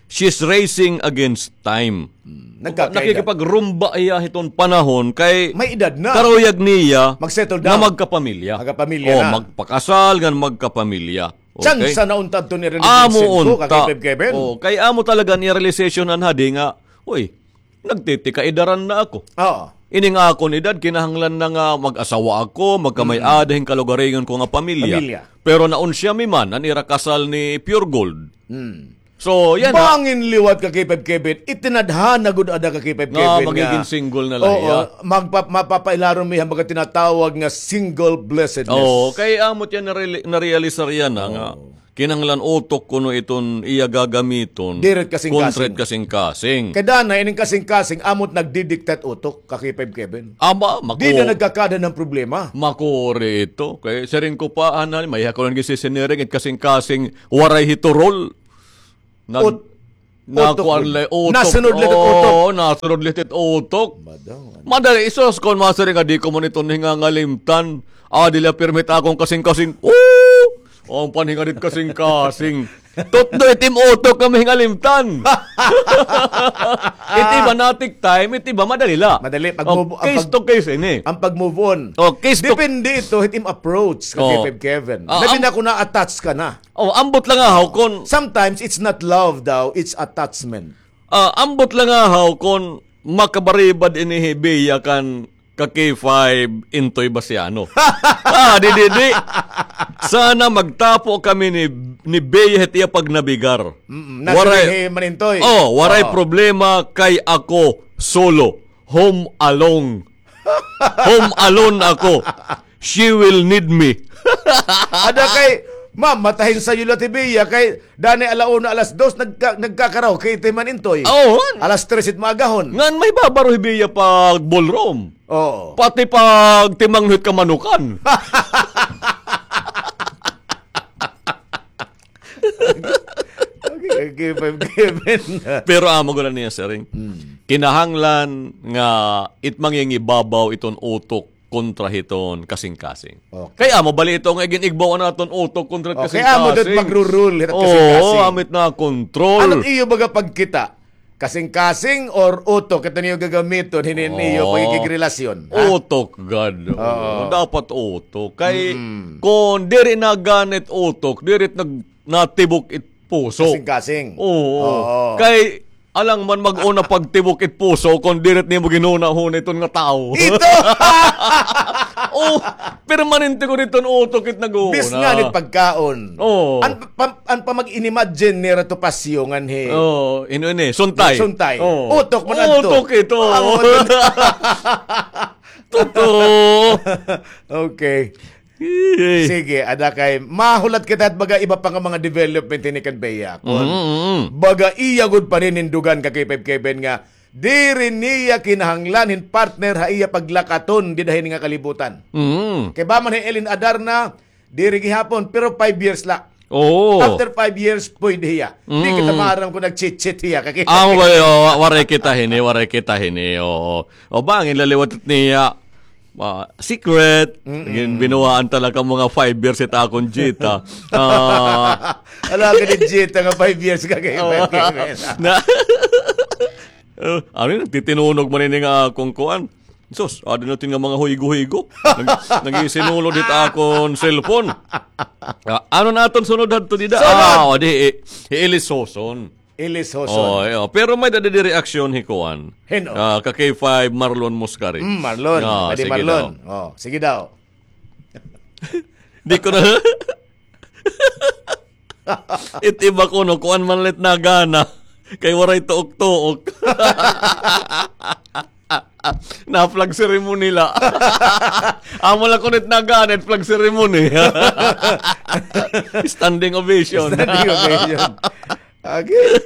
she's racing against time. Mm. Nagkakaedad. Nakikipagrumba hiya hiton panahon kay May edad na. karuyag niya Mag-settle nga down. magkapamilya. Magkapamilya O, na. magpakasal ngan magkapamilya. Okay? Tsansa na unta adto ni Rene Amo Vincent ko, unta. ka K five Kevin. O, kay amo talaga niya realization han hadi nga, uy, nagtitikaedaran na ako. Oo. Ining akon edad, kinahanglan na nga mag-asawa ako, magkamay-ada hin kalugaringon ko nga pamilya. Pamilya. Pero naunsiya mi man an ira kasal ni Pure Gold. Hmm. So, yan, ha? Bangin liwat ka K five Kevin, itinadhana gud ada ka K five Kevin nga magigin single na la hiya. Oo, magpa-, mapapailarom hiya han mga tinatawag nga single blessedness. Oo, kay amo it iya nareali-, narealisar yana nga kinahanglan utok kuno iton iya gagamiton. Diri it kasingkasing. Kontra it kasingkasing. Kay danay, ining kasingkasing, amo it nagdidikta hit utok ka K five Kevin. Ama, mako-, dida nagkakaada han problema. Makuri ito. Kay siring ko pa, anay, may ako lang gisisiniring, it kasingkasing waray hiturol. Nag-, ut-, nakuan utok la, utok. Nasunod la it utok. Oo, nasunod la it utok. Madali, isos kon masiring nga di ko man ito hingangalimtan. Ah, diri la pirmi it akon kasingkasing. Oo! An panhingadit kasingkasing. Tutdo it im utok nga mahingalimtan. It iba natik time, it iba madali la. Madali, pag-move, case to case ini. An pag-move on. Oh, case to. Depende ito, it im approach ka K five Kevin. Ah, labi na kon na-attach ka na. Oh, ambot la ngahaw kon sometimes it's not love daw, it's attachment. Ah, ambot la ngahaw kon makabaribad ini hi Bea kan ka K five Intoy Basiano. Ah, di, di, di. Sana magtapo kami ni, ni Bea hit iya pagnabigar. Mm, waray. Nasiring hi Manintoy. Oh, waray problema kay ako solo. Home alone. Home alone ako. She will need me. Ada kay, ma'am, matahin sayo la ti Bea kay danay ala una, alas dos, nagka-, nagkakaraoke ti Manintoy. Oo. Alas tres it maagahon. Ngan mahibabaro hi Bea pag-ballroom. Oo. Pati pagtimangno hit kamanukan. Okay, okay, Kevin. Pero amo gud an iya siring. Mm. Kinahanglan nga it mangingibabaw iton utok kontra hiton kasingkasing. Okay. Kay amo bali ito nga iginigbaw an aton utok kontra kasingkasing. Okay, amo it magru-rule hit kasingkasing. Oo, amo it nakontrol. Ano it iyo baga pagkita? Kasingkasing or utok? Ito niyo gagamiton, hinin iyo pagkikigrelasyon, ha? Utok gad. Oo. Dapat utok. Kay kon diri na gani it utok, diri it nag-, natibok it puso. Kasingkasing. Oo. Oo. Kay alang man mag-una pagtibok it puso kon diri it nimo ginhunahuna iton nga tawo. Ito! Oh, permanente gud iton utok it nag-uuna. Bis nga ni pagkaon. Oo. An pa-, an pamag-inimagine nira to pasyo nganhi. Oo, ino ini, suntay. Suntay. Oo. Utok man adto. Utok ito. Totoo. Okay. Sige, ada kay mahulat kita hit baga iba pa nga mga development hini kan Bea. Kon baga iya gud paninindugan ka K five Kevin nga diri niya kinahanglan hin partner ha iya paglakaton dida hini nga kalibutan. Kay ba man hi Ellen Adarna, diri gihapon, pero five years la. Oo. After five years, pwede hiya. Di kita maaram kon nag-cheat-cheat hiya. Amo ba, wa-, waray kita hini, waray kita hini, oo. O bangin la liwat niya. Ah, secret. Gin-, binuwaan talaga mga five years it akon Jita. Ah. Ala ka ni Jita nga five years ka kay na, ano yun, nagtitinunog man ini nga akon kuan. Sus, adi natin nga mga huygo-huygo. Nag-, nag-isinulod it akon cellphone. Ah, ano na aton sunod hadto dida? Sunod! Ah, o, di, i-, iilis hoson. Ilis hoson. Oh, iyo. Pero may dadi di reaksyon hi kuan. Hin-o? Ah, ka K five Marlon Muscari. Mm, Marlon. Ah, sige daw. Oh, sige daw. Di ko na. It iba kuno, kuan man la it nagana. Kay waray tuok-tuok. Na flag ceremony la. Amo la kuno it nagana, it flag ceremony. Standing ovation. Standing ovation. Okay.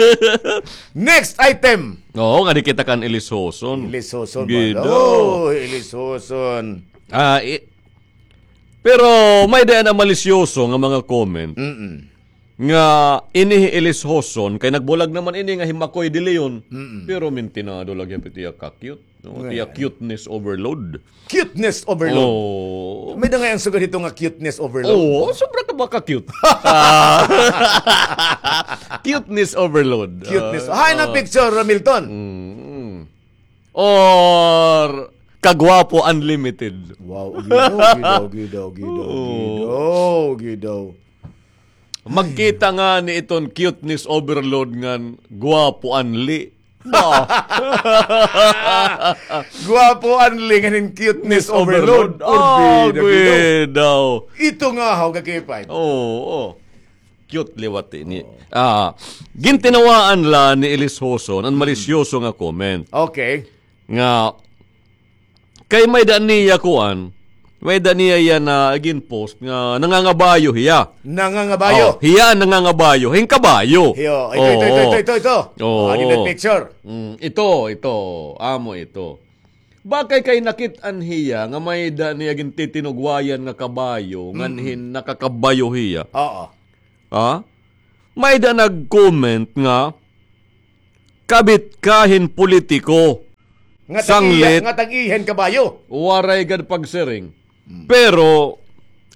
Next item. Oo, nga di kita kan ilis hoson. Ilis hoson, Gido. Oh, ilis hoson. Ah, i-, pero may-ada na malisyoso nga mga comment. Mm-mm. Nga ini hi ilis hoson, kay nagbulag naman ini nga hi Makoy de Leon, pero mintinado lagi it iya ka-cute, no? It iya cuteness overload. Cuteness overload. Oo. May-ada ngay-an sugad hito nga cuteness overload. Oo, sobra ka ba ka-cute? Ah. Cuteness overload. Cuteness. Ah, hay na picture, Milton. Mm. Or kagwapo unlimited. Wow, gidaw, gidaw, gidaw, gidaw, gidaw, gidaw. Magkita ngani iton cuteness overload ngan gwapo unli. Ba? Gwapo unli ngan hin cuteness overload. Ah, gidaw. Ito nga haw ka K five. Oo, oo. Cute liwat ini. Ah, gintinawaan la ni Elis Hoson an malisyoso nga comment. Okay. Nga, kay may-ada niya kuan, may-ada niya iya na ginpost nga nangangabayo hiya. Nangangabayo? Oh, hiya an nangangabayo. Hin kabayo. Hiyo, ito, ito, ito, ito, ito. Oo. Ah, ginit picture. Mm, ito, ito. Amo ito. Bakay kay nakit-an hiya nga may-ada niya gintitinugwayan nga kabayo, nganhin nakakabayo hiya. Oo. Ha? May-ada nag-comment nga, "Kabit ka hin politiko." Nga tag-iya, sanglit, nga tag-iya hin kabayo. Waray gad pagsiring. Mm. Pero,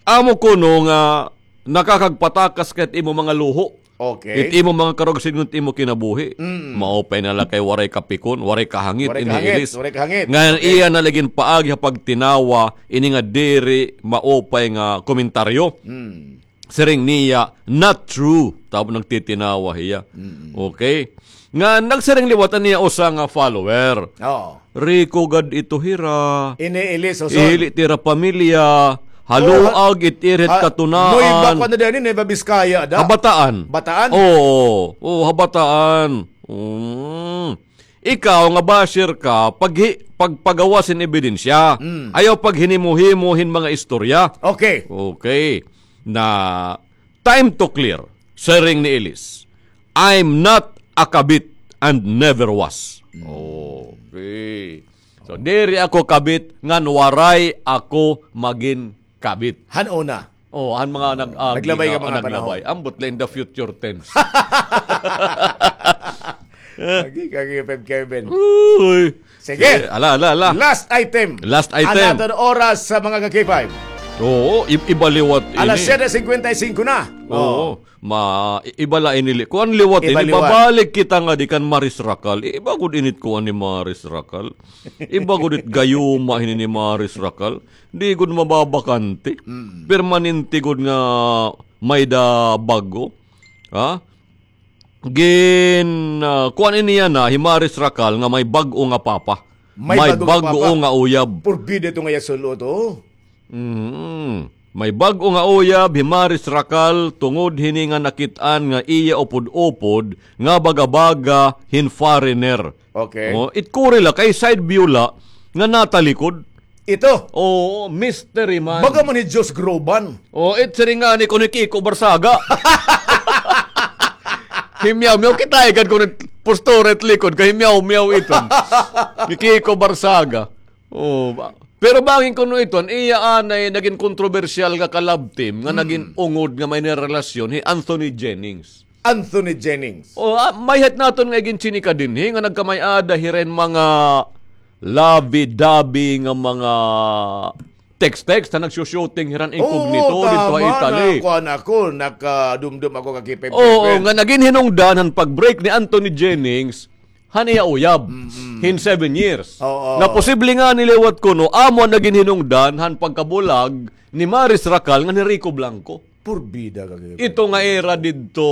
amo kuno nga nakakagpatakas ka hit imo mga luho. Okay. Hit imo mga karuyag sidngon hit imo kinabuhi. Mm. Maupay na la kay waray kapikon, waray kahangit, waray kahangit, waray kahangit. Ngan iya na la ginpaagi ha pagtinawa, ini nga diri maupay nga komentaryo. Mm. Siring niya, "Not true." Tapos nagtitinawa hiya. Mm-mm. Okay? Nga nagsiring liwat an iya usa nga follower. Oo. "Rico gad ito hira. Ini Elis Hoson. Ihili it ira pamilya. Haluag it ira hit katunaan." Nueva pa na din, Nueva Vizcaya da. Ha Bataan. Bataan? Oo. Oo, ha Bataan. Mm. Ikaw nga basher ka, paghi-, pagpagawas hin ebidensya. Mm. Ayaw paghinimo-himo hin mga istorya. Okay. Okay. Na time to clear, siring ni Elis, "I'm not a kabit and never was." Mm. Okay. So, diri ako kabit, ngan waray ako magin kabit. Han una. Oh, han mga nag-agi. Naglabay nga, nga mga panahon. Naglabay. Ambot la in the future tense. Lagi ka, K five Kevin. Uy. Sige. Sige, ala, ala, ala. Last item. Last item. An aton oras sa mga ka-K five. Oo, i-, iba liwat ini. Alas siyete singkwenta y singko na. Oo. Oo. Ma-, i-, iba la ini li-, kuan liwat ini. Iba liwat. Babalik kita ngadi kan Maris Racal. Iba gud ini it kuan ni Maris Racal. Iba gud it gayuma hini ni Maris Racal. Di gud mababakante. Mm. Permanente gud nga may-ada bag-o. Ha? Gin, ah, kuan ini yana, hi Maris Racal nga may bag-o nga papa. May bag-o nga uyab. Purbida ito nga iya sul-ot, oh. Mm. May bag-o nga uyab hi Maris Racal tungod hini nga nakit-an nga iya upod-upod nga baga-baga hin foreigner. Okay. Oh, it kuri la kay side view la nga natalikod. Ito. Oo, mystery man. Baga man hi Diyos Groban. Oh, it siring ngani kuno ni Kiko Barsaga. Himyaw-myaw, kita ikan kuno postura it likod kay himyaw-myaw iton. Ni Kiko Barsaga. Oh, ba-, pero bangin kuno iton, iya anay nagin kontrobersyal nga ka-love team nga nagin ungod nga may nirelasyon, hi Anthony Jennings. Anthony Jennings. Oh, ah, mayhat naton nga iginchinika dinhi nga nagkamay-ada hira hin mga lovey-dovey nga mga text-text ha nagsu-shooting hira hin incognito didto ha Italy. Oo, tama. Nakuan ako, nakadumdom ako ka K five Kevin. Oo, nga nagin hinungdan han pag-break ni Anthony Jennings han iya uyab hin seven years. Oo. Nga posible ngani liwat kuno, amo an nagin hinungdan han pagkabulag ni Maris Racal ngan hi Rico Blanco. Purbida ka, K five Kevin. Ito nga ira didto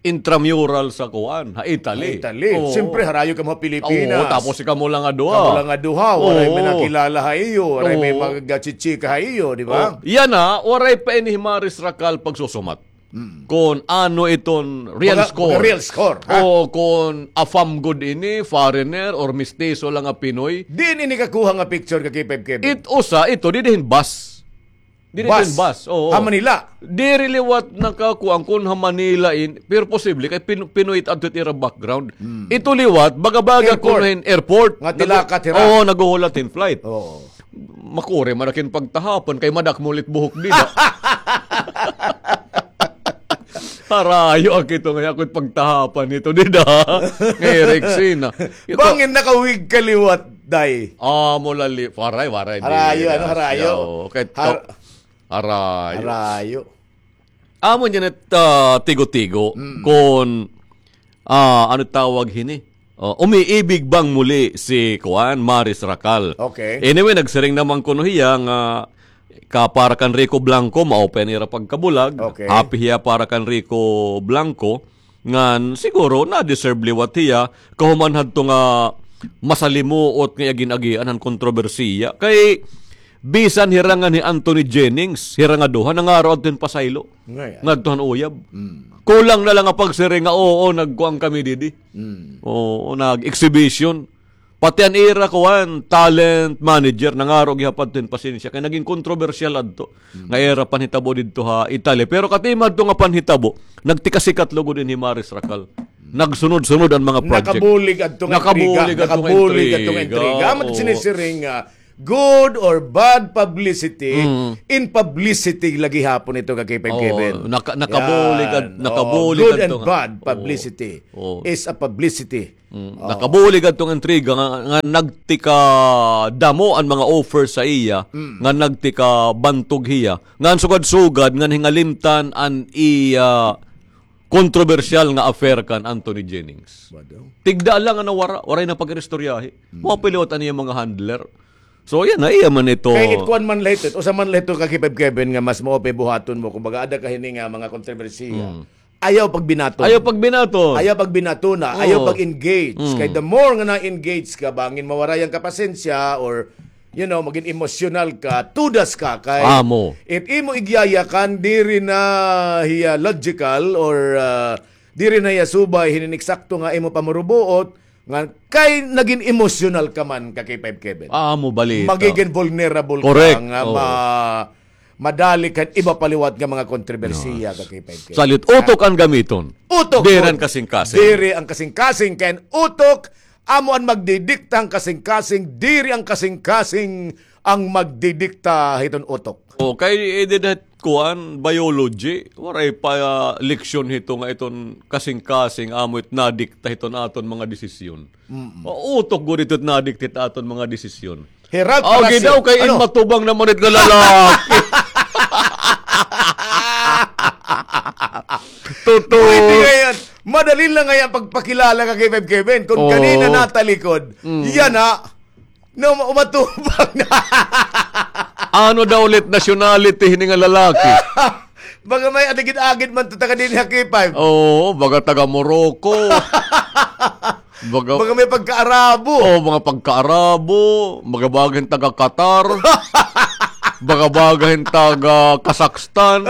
intramural sa kuan, ha Italy. Ha Italy. Oo. Siyempre, harayo kamo ha Pilipinas. Oo, tapos kamo la nga duha. Kamo la nga duha, waray may nakilala ha iyo, waray may magchichika ha iyo, di ba? Oo. Yana, waray pa ini hi Maris Racal pagsusumat. Mm. Kon ano iton real score. Mga, mga real score, ha? O kon afam gud ini, foreigner, or mestizo la nga Pinoy. Diin ini kakuha nga picture ka K five Kevin? It usa, ito, didi hin bus. Diri bus. Bus, oo. Ha Manila. Diri liwat nakakuan kon ha Manila in, pero posible kay Pin-, Pinoy it adto it ira background. Hmm. Ito liwat, baga-baga kuno hin airport. Nga tilakat hira. Oo, naghuhulat hin flight. Oo. Makuri man ak hin pagtahapan kay madakmol it buhok dida. Harayo ak ito nga ako it pagtahapan nito dida. Nga Rexina. Ito. Bangin naka-wig ka liwat, day. Ah, mula li-, waray, waray. Harayo, ano, harayo? Oo, kay Har- Harayo. Harayo. Amo niyan it, ah, tigo-tigo kon, ah, ano tawag hini? Oh, umiibig bang muli si kuan, Maris Racal? Okay. Anyway, nagsiring naman kuno hiya nga ka para kan Rico Blanco, mao pa an ira pagkabulag. Okay. Happy hiya para kan Rico Blanco. Ngan siguro na-deserve liwat hiya, kahuman hadto nga masalimuot nga iya gin-agian han kontrobersiya. Kay Bisan hira ngan hi Anthony Jennings, hira nga duha, nangaro adto hin pasaylo. Ngadto han uyab. Kulang na la nga pagsiring nga, "Oo, nagkuan kami didi." Oo, nag-exhibition. Pati an ira kuan, talent manager, nangaro gihap adto hin pasensya. Kay naging kontrobersyal adto nga ira panhitabo didto ha Italy. Pero katima adto nga panhitabo, nagtikasikat lugod ini hi Maris Racal. Nagsunod-sunod an mga project. Nakabulig adto nga intriga. Nakabulig adto nga intriga. Amo it sinisiring nga good or bad publicity, in publicity la gihapon ito ka K five Kevin. Nakabulig adto nga. Good and bad publicity is a publicity. Nakabulig adto nga intriga nga, nga nagtikadamo an mga offer sa iya, nga nagtikabantog hiya, nga an sugad-sugad nga hingalimtan an iya kontrobersyal nga affair kan Anthony Jennings. Tigda la nga nawara, waray na pag-iristoryahi. Mao pa liwat an iya mga handler. So, yana, iya man ito. Kay it kuan man la ito, usa man la ito ka K five Kevin nga mas mao pa buhaton mo, kumbaga, ada ka hini nga mga kontrobersiya. Ayaw pagbinaton. Ayaw pagbinaton. Ayaw pagbinatona, ayaw pag-engage. Kay the more nga na-engage ka, bangin mawaray an kapasensya or, you know, magin emosyonal ka, tudas ka, kay it imo igyayakan, diri na hiya logical or, ah, diri na hiya subay hinin eksakto nga imo pamurubuot, nga kay nagin emosyonal ka man ka K five Kevin. Amo balita. Magigin vulnerable ka nga ma-, madali kan iba pa liwat nga mga kontrobersiya ka K five Kevin. Salit utok an gamiton. Utok. Diri an kasingkasing. Diri an kasingkasing kay an utok amo an magdidikta han kasingkasing, diri an kasingkasing an magdidikta hiton utok. O, kay, eh, dida kuan, biology, waray pa, ah, leksyon hito nga iton kasingkasing amo it nadikta hiton aton mga desisyon. O, utok gud ito it nadikta hit aton mga desisyon. Hi Ralph Palacio. Daw kay in matubang naman it nga lalaki. Totoo. Pwede ngay-an. Madali la ngay-an pagpakilala ka K five Kevin. Kon kanina natalikod, yana, no, matubang na. Ano daw ulit nationality hini nga lalaki? Baga may agid-agid man to taga dinhi ha K five. Oo, baga taga Morocco. Baga may pagka-Arabo. Oo, mga pagka-Arabo. Baga-baga hin taga Qatar. Baga-baga hin taga Kazakhstan.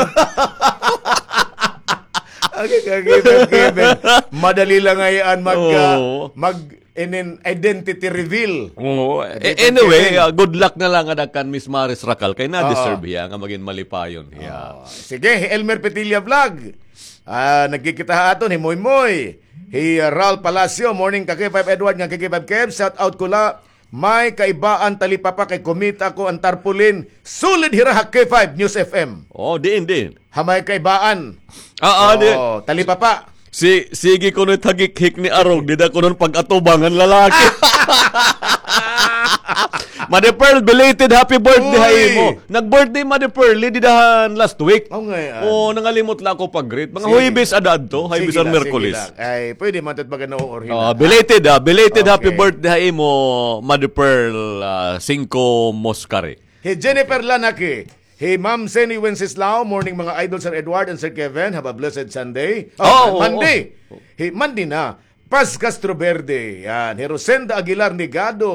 Madali la ngay-an mag, ah, mag inin identity reveal. Oo. Anyway, ah, good luck na la ngada kan Miss Maris Racal kay na-deserve hiya nga magin malipayon hiya. Sige, hi Elmer Petilla Vlog. Ah, nagkikita ha aton, hi Moy Moy. Hi, ah, Ralph Palacio, morning ka K five Edward, nga K five Kev, shout out ko la. May kaibaan talipapa kay kumita ko an tarpaulin. Sulod hira ha K five News F M. Oh, diin, diin. Ha may kaibaan. Ah, ah, di. Oh, talipapa. Si, sige kuno it hagikhik ni Arog, dida kuno pag-atubang an lalaki. Madi Pearl, belated happy birthday ha imo. Nag-birthday Madi Pearl, dida han last week. Oh, nangalimot la ako pag-greet. Mga Huwebes ada adto, Huwebes or Miyerkules. Ay, pwede man ito baga nauurhi na. Belated, ah, belated happy birthday ha imo, Madi Pearl, ah, Singko Moscari. Hi Jennifer Lanaki, hi Ma'am Seni Wenceslao, morning mga idol, Sir Edward and Sir Kevin, have a blessed Sunday. Oh, Monday. Hi Monday na. Paz Castro Verde, yan. Hi Rosenda Aguilar Nigado,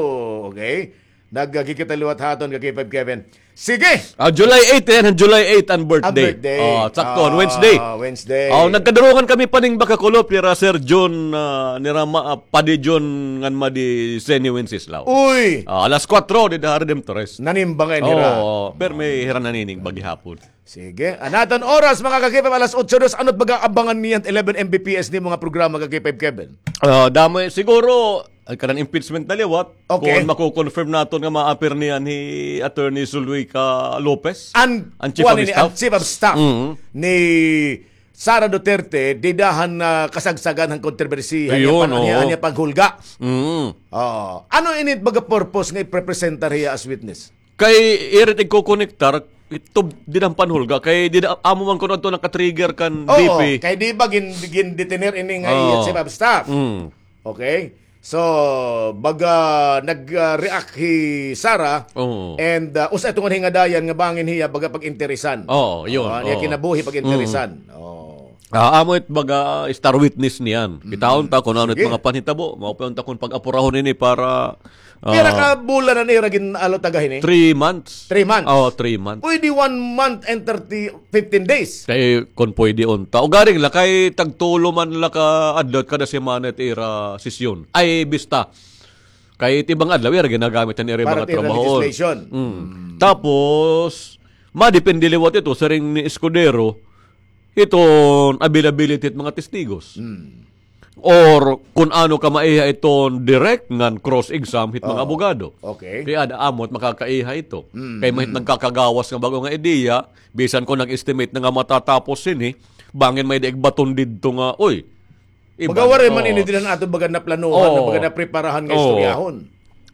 okay. Nagkikita liwat ha aton ka K five Kevin. Sige! Ah, July eight, yan, July eight an birthday. An birthday. Oh, sakto, Wednesday. Ah, Wednesday. Oh, nagkadurungan kami paning bakakulop, nira Sir Jun, ah, nira ma-, ah, Padi Jun ngan Madi Seni Wenceslao. Uy! Ah, alas kuwatro, dida ha Redemptores. Nanimba ngay-an hira. Oo, pero may hira nanining bagihapon. Sige. An aton oras, mga ka-K five, alas otso dos. Ano it baga abangan niyan, eleven M B P S ni mga programa ka-K five, Kevin? Ah, damo, eh, siguro, an kanan impeachment na liwat. Okay. Kon mako-confirm naton nga ma-appear niyan hi Attorney Zuluica Lopez, an Chief of Staff. An Chief of Staff ni Sara Duterte, dida han, ah, kasagsagan han kontrobersiya, han iya panghulga. Oo. Ano ini it baga purpose nga iprepresentar hiya as witness? Kay ira it igkokonektar, ito, dida han panhulga. Kay dida, amo man kuno adto naka-trigger kan V P. Oo, kay di ba gin-, gin-detener ini nga iya Chief of Staff? Okay? So, baga nag-, ah, react hi Sara, and, ah, usa ito nga hingadayan nga bangin hiya baga pag-interesan. Oo, yun. An iya kinabuhi pag-interesan. Oo. Ah, amo it baga star witness niyan. Kitaon ta kon ano it mga panhitabo, mao pa unta kon pag-apurahon ini para Pira ka bulan an ira gin-allow taga hini? Three months. Three months. Oo, three months. Pwede one month and thirty, fifteen days. Kay kon pwede unta. Ugaring la kay tagtulo man la ka adlaw kada semana it ira sesyon. Ay, bista. Kay it iba nga adlaw, ira ginagamit an ira mga trabahoon. Para it ira legislation. Mm. Tapos, madepende liwat ito, siring ni Escudero, iton availability it mga testigos. Or kun ano ka maiha iton direct ngan cross-exam hit mga abogado. Okay. Kay ada amo it makakaiha ito. Kay mahit nagkakagawas nga bag-o nga ideya, bisan kon nag-estimate na nga matatapos hini, bangin may-ada igbaton didto nga, oy, iba. Baga waray man ini dinhi an aton baga naplanuhan, na baga napreparahan nga istoryahon.